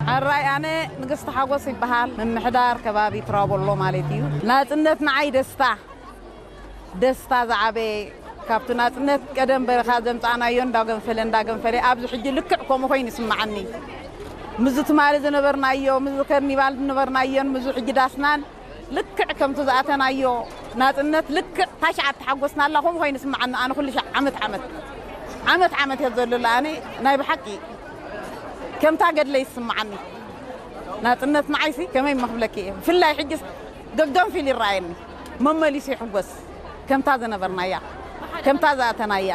ሕራይ ኣነ ንግስቲ ሓጎስ ይበሃል። ምምሕዳር ከባቢ ትራቦሎ ማለት እዩ። ናጽነት ንዓይ ደስታ፣ ደስታ ዝዓበየ ካብቲ ናጽነት ቀደም በረኻ ዘምጻእናዮ እንዳገንፈለ እንዳገንፈለ ኣብዚ ሕጂ ልክዕ ከምኡ ኮይኑ ይስምዓኒ። ምዚ ትማሊ ዝነበርናዮ፣ ምዚ ከርኒቫል ዝነበርናዮን ምዚ ሕጂ ዳስናን ልክዕ ከምቲ ዝኣተናዮ ናጽነት ልክዕ ታሽዓት ተሓጎስናላ ከምኡ ኮይኑ ይስምዓኒ። ኣነ ኩሉ ሻዕ ዓመት ዓመት ዓመት ዓመት እየ ዘሎ ኣነ ናይ ብሓቂ ከምታ ገድለ ይስምዓኒ። ናጽነት ንዓይሲ ከመይ መኽብለኪ እየ። ብፍላይ ሕጅስ ገገንፊል ይረኣየኒ። መመሊሱ ይሕጎስ። ከምታ ዝነበርናያ፣ ከምታ ዝኣተናያ።